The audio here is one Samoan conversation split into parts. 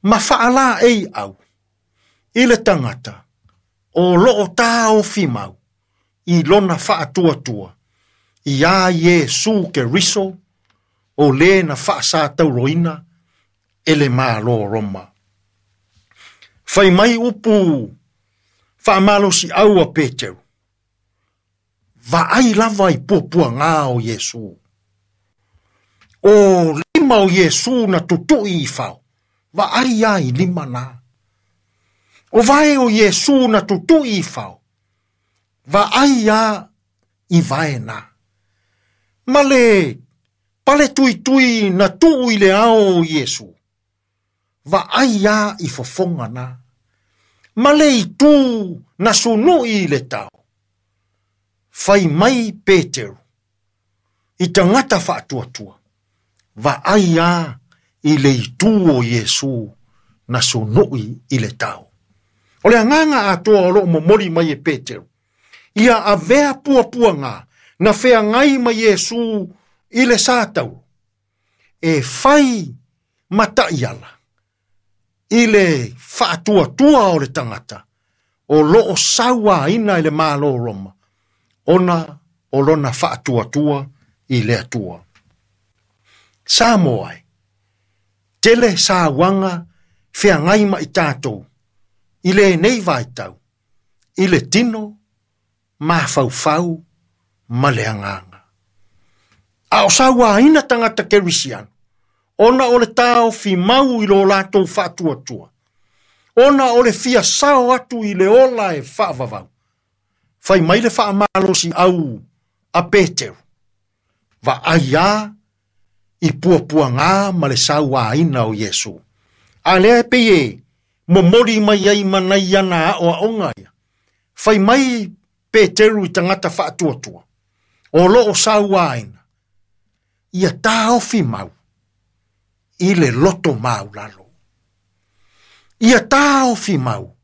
Ma faalaeiau i le tagata o loo taofi mau i lona faatuatua iā Iesu Keriso o lē na faasatauroina e le Malo o Roma. Fai mai upu faamalosiau a Peteru, Vaai lava i puapuagā o Iesu. O lima o Iesu na tutui i fao, vaai a i lima na. O vae o Iesu na tutui i fao, vaai a i vae na. Ma le pale tuitui na tuu i le ao o Iesu, vaai a i fofoga na. Ma le itu na sunui i le tao, fai mai Peteru i tagata faatuatua, vaai a i le itu o Iesu na sunui i le tao. O le agaga atoa o loo momoli mai e Peteru, ia avea puapuaga na feagai ma Iesu i le sa taulo, e fai ma taiala i le faatuatua o le tagata o loo sauaina i le Malo o Roma, ona o lona faatuatua i le Atua. Samoa e, tele sauaga feagai ma i tatou i lenei vaitau, i le tino, mafaufau ma le agaga. A o sauaina tagata kerisiano, ona o le taofi mau i lo latou faatuatua, ona o le fia sao atu i le ola e faavavau, fai mai le faamalosiau a Peteru, vaai a i puapuagā ma le sauaina o Iesu. A lea e pei e momoli mai ai ma nai ana aoaoga ia. Fai mai Peteru i tagata faatuatua, o loo sauaina, ia taofi mau i le loto maulalo. Ia taofi mau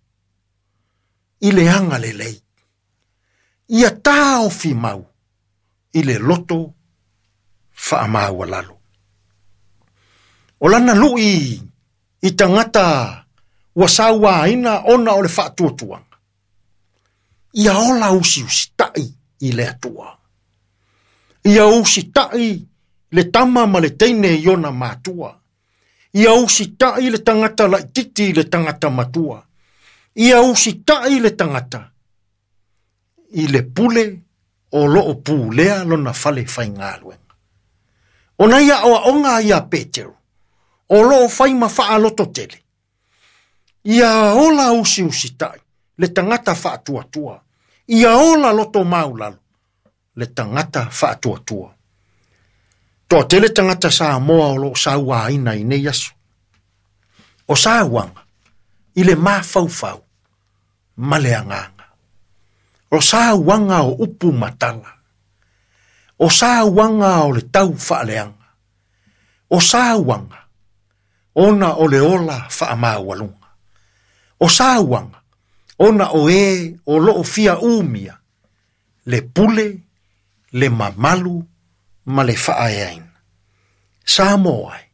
i le agalelei. Ia taofi mau i le loto faamaualalo. O lana lui i tagata ua sauaina ona o le faatuatuaga, ia ola usiusitai i le Atua. Ia usitai le tama ma le teine i ona matua. Ia usitai le tagata laititi i le tagata matua. Ia usitai le tagata i le pule o loo pulea lona fale faigaluega. O nai aoaoga ia Peteru, o loo fai ma faalototele. Ia ola usiusitai le tagata faatuatua. Ia ola loto maulalo le tagata faatuatua. Toatele tagata Samoa o loo sauaina i nei aso. O sauaga i le mafaufau ma le agaga. O sauaga o upu matala. O sauaga o le tau faaleaga. O sauaga ona o le ola faamaualuga. O sauaga ona o e o loo fia umia le pule, le mamalu ma le faaeaina. Samoa e,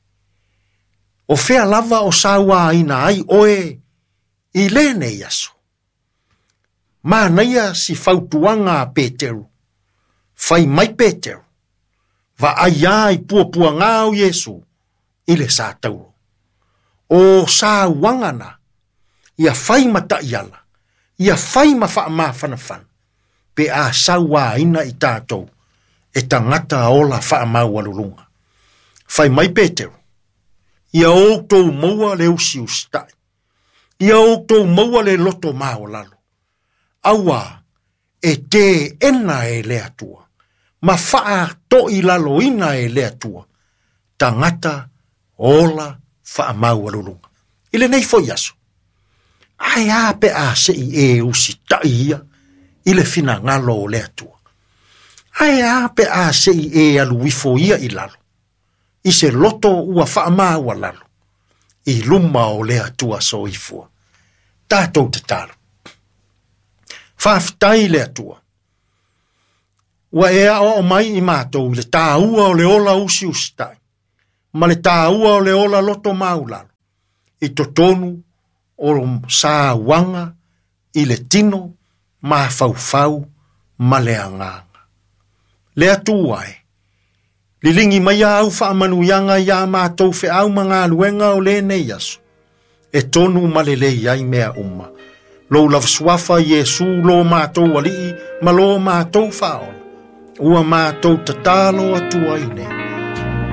o fea lava o sauaina ai oe i lenei aso. Manaia si fautuaga a Peteru. Fai mai Peteru, vaai a i puapuagā o Iesu i le sa taulo. O sauaga na, ia fai ma taiala, ia fai ma faamafanafana, pe a sauaina i tatou e tagata ola faamaualuluga. Fai mai Peteru, ia outou maua le usiusitai, ia outou maua le loto maolalo, auā e teena e le Atua, ma faatoilaloina e le Atua, tagata ola faamaualuluga. I lenei foi aso, ae a pe a sei e usitai ia i le finagalo o le Atua. Ae a pe a sei e alu ifo ia i lalo, i se loto ua faamaualalo, i luma o le Atua soifua. Tatou tatalo. Faafetai le Atua. Ua e aoao mai i matou i le taua o le ola usiusitai, ma le taua o le ola loto maulalo, i totonu o sauaga i le tino, mafaufau ma le agaga. Le Atua e, liligi mai au faamanuiaga iā matou feau ma galuega o lenei aso, e tonu ma lelei ai mea uma. Lou lava suafa Iesu lo matou alii ma lo matou faaola, ua matou tatalo atu ai nei.